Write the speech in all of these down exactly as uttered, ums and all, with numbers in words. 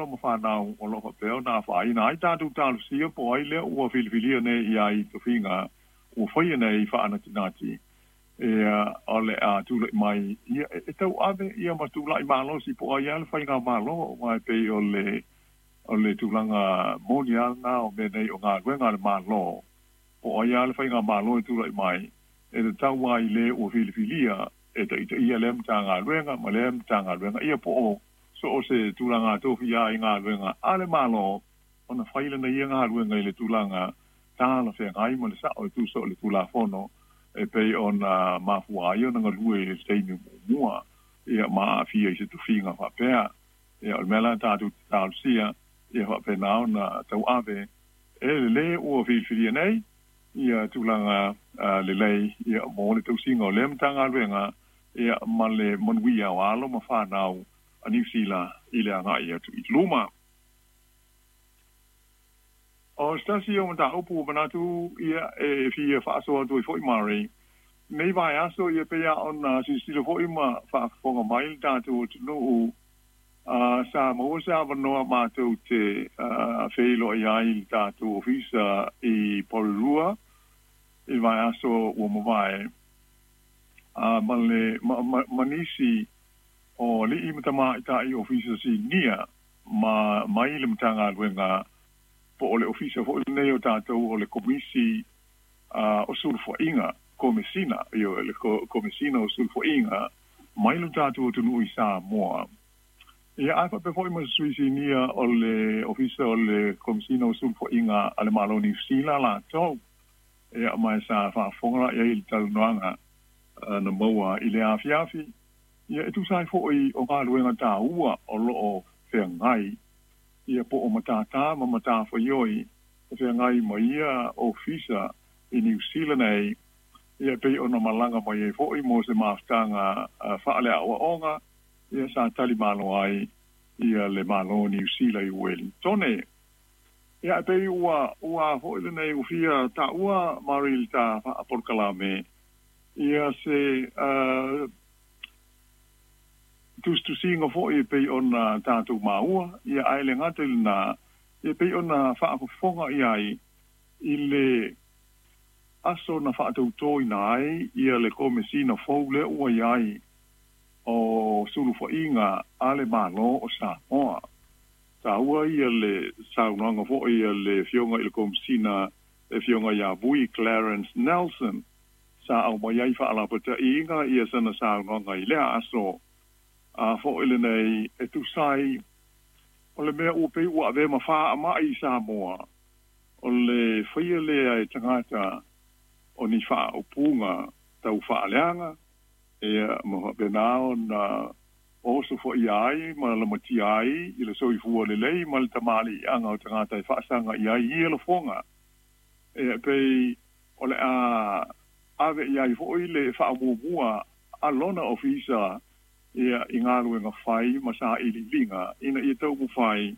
alo ma whanau o lo whapea ona whaina ai tātou talosia po ai lea ua filifilia nei ia i tofiga ua faia nei faanatinati ia o le a tula'i mai ia e tauave ia ma tula'i malosi po o ai a le faigamālō aua e pei o le o le tulaga moni a lena o mea nei o galuega a le Mālō po o ai a le faigamālō e tula'i mai e tatau ai lē ua filifilia e taʻitaʻia lea matagaluega ma lea matagaluega ia po o so o se tulaga tofi a i galuega a le Mālō ona fai lana ia galuega i le tulaga talafeagai ma le saʻo e tusa o le Tulafono e pei ona mafua ai ona galue i le taimi muamua ia ma aafia i se tofiga faapea. Ia o le mea la tatou talosia ia faapena ona tauave e lelē ua filifilia nei ia tulaga lelei ia mo le tausiga o lea matagaluega ia ma le manuia o alo ma fanau a Niu Sila i le agaʻi atu i luma. O se tasi o mataupu ua manatu ia e fia faasoa atu ai foʻi Murray nei vaiaso ia pei a ona silasila foʻi ma faafofoga mai le tatou atunuu uh, sa maua se avanoa matou te uh, feiloai ai le tatou ofisa i Porirua i vaiaso ua mavae uh, ma le ma, ma, ma nisi o aliʻi ma tamaitai ofisa sinia ma mai le Matagaluega po o le ofisa foʻi lenei o tatou o le Komisi uh, o Sulufaiga Komesina io le Komesina o Sulufaiga mai lo tatou atunuu i Samoa. Ia ae faapea foʻi ma se sui sinia o le ofisa o le Komesina o Sulufaiga a le Mālō Niu Sila latou. Ia ma e sa faafofoga laʻi ai i le talanoaga na maua i le afiafi. Ia e tusa ai foʻi o galuega tāua o loo feagai ia po o matātā ma matafaioi e feagai ma ia ofisa i Niu Sila nei ia pei ona malaga mai ai foʻi mo se mafutaga faaleaʻoaʻoga ia sa tali malo ai ia le Mālō Niu Sila i Uelintone. Ia e pei ua ua foʻi lenei ua fia taʻua Murray le ta faapolokalame ia se uh, tusitusiga foʻi e pei ona tatou maua ia ae le gata i lenā ia pei ona faafofoga i ai i le aso na faatautōina ai ia le Komesina fou lea ua iai o Sulufaiga a le Mālō o Samoa. Taua ia le saunoaga foʻi a le Afioga i le Komesina le Afioga iā Vui Clarence Nelson sa aumai ai faalapataʻiga ia sana saunoaga i lea aso a foʻi lenei e tusa ai o le mea ua pei ua avea ma faamaʻi i Samoa o le faia lea e tagata o ni faaupuga tau faaleaga ia ma faapena ona oso foʻia ai ma lamatia ai i le soifua lelei ma le tamaliiaga o tagata e faasaga i ai ia lafoga e pei o le a ave i ai foʻi le faamuamua a lona ofisa ia i galuega fai ma saʻiliiliga ina ia taumafai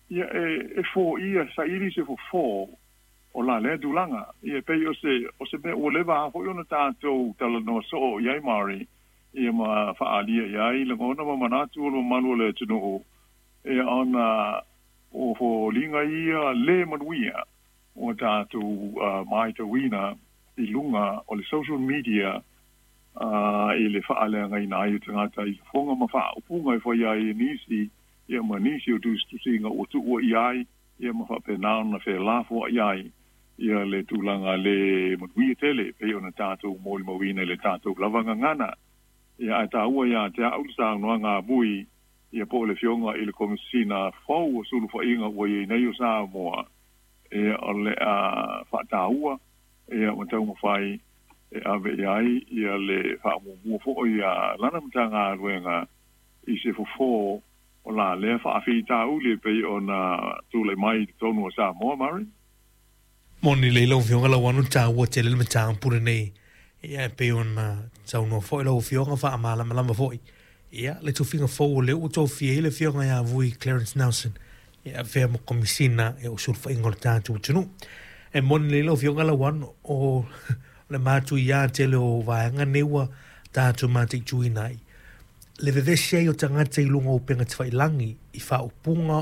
ia e e foia saili se fofō o la lea tulaga ia pei o se o se mea ua leva foʻi ona tatou talanoa soo i ai Murray ia ma faaalia i ai lagona ma manatu o le mamalu o le atunuu ia ona o foliga ia lē manuia ua tatou uh, matauina i luga o le social media uh, i le faaleagaina ai o tagata i lafoga ma faaupuga e fai ai e nisi ia ma nisi o tusitusiga ua tuua i ai ia ma faapena ona felafoaʻi ai ia le tulaga lē manuia tele pei ona tatou molimauina i le tatou lava gagana. Ia ae taua iā te aʻu le saunoaga a Vui ia po o le Afioga i le Komesina fou o Sulufaiga ua iai nei o Samoa ia o le a faataua ia ma taumafai e ave i ai ia le faamuamua foʻi a lana Matagaluega i se fofō o la lea faafitauli e pei ona tulai mai i totonu o Samoa Murray. Moni lelei lau Afioga Lauano taua tele le mataupu lenei. Ia e pei ona saunoa foʻi lau Afioga faamalamalama foʻi. Ia le tofiga fou o lea ua tofia ai le Afioga iā Vui Clarence Nelson e avea ma Komisina e o Sulufaiga o le tatou atunuu. E moni lelei lau Afioga Lauano o le matuiā tele o vaega nei ua tatou mataituina ai le vevesi ai o tagata i luga o upega tafailagi i faaupuga.